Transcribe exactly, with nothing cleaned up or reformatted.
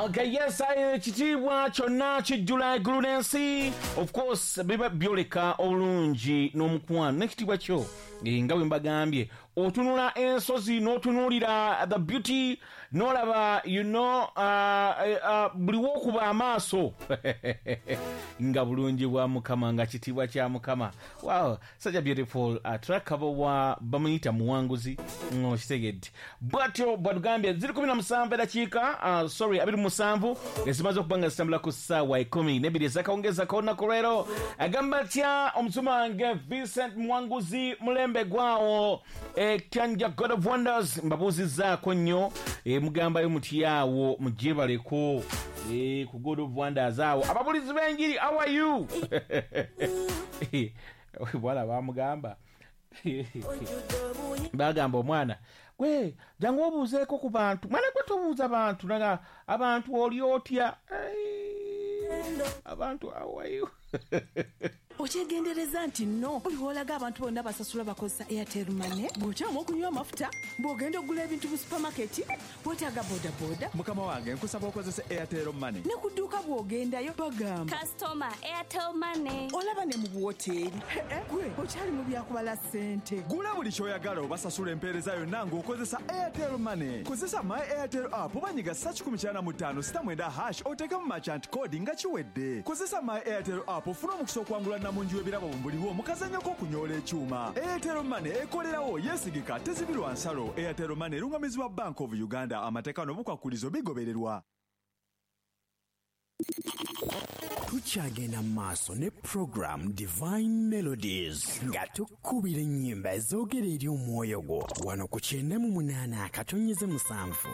Okay, yes, ekitiibwa kyonna kijjula eggulu n'ensi. Of course, biba byoleka obulungi n'omukwano n'ekitiibwa kyo. Eh, nga bwe mbagambye, otunula ensozi n'otunuulira the beauty, n'olaba, you know, uh, uh, buli w'okuba amaaso nga bulungi bwa Mukama, nga kitiibwa kya Mukama. Wow, such a beautiful uh, track. Abo wa bamuyita Muwanguzi, okitegedde. Bwatyo bwatugambye ziri kumi na musanvu edakiika, uh, sorry, abiri mu musanvu ezimaze okuba nga zitambula ku ssaawa ekumi n'ebbiri ezakawungeezi ak'olunaku lwero. Agamba atya omusuma wange Vincent Muwanguzi mulembe gwawo Kyanja God of Wonders, mbabuuzizzaako nnyo, e, mugambayo mutyawo mugyebaleko e, ku God of Wonders awo. Ababulizi b'enjiri, how are you? Bwala bamugamba bagamba omwana gwe jangu obuuzeeko ku bantu, mwana gwe tobuuza bantu, naga abantu oli otya? Abantu how are you? Okyegendereza nti nno buli w'olaga abantu bonna basasula bakozesa Airtel Money, bw'okyama okunywa amafuta, bw'ogenda okugula ebintu mu supamaketi, weetaaga bodaboda. Mukama wange, nkusaba okozese Airtel Money. Ne ku dduuka bw'ogendayo bagamba Customer Airtel Money. Olaba ne mu buwoteeri gwe okyali mu byakubala ssente. Gula buli ky'oyagala obasasula empeereza yonna ng'okozesa Airtel Money. Kozesa My Airtel app oba nyiga ssa kikumi kyana mu ttaano sita mwenda hash oteekemu merchant code nga kiwedde. Kozesa My Airtel app ofune omukisa okwangula namungi w'ebirabo mu buliwo mu kazannyo k'okunyoola ekyuma. Airtel Money ekolerawo, yeesigika, tezibirwa nsalo. Airtel Money erungamizibwa Bank of Uganda. Amateeka n'obukwakulizo bigobererwa. Tukyagenda mu maaso ne program Divine Melodies nga tukubira ennyimba ezoogera eri omwoyo gwo wano ku kyenda mu munaana akatonyeze musanvu.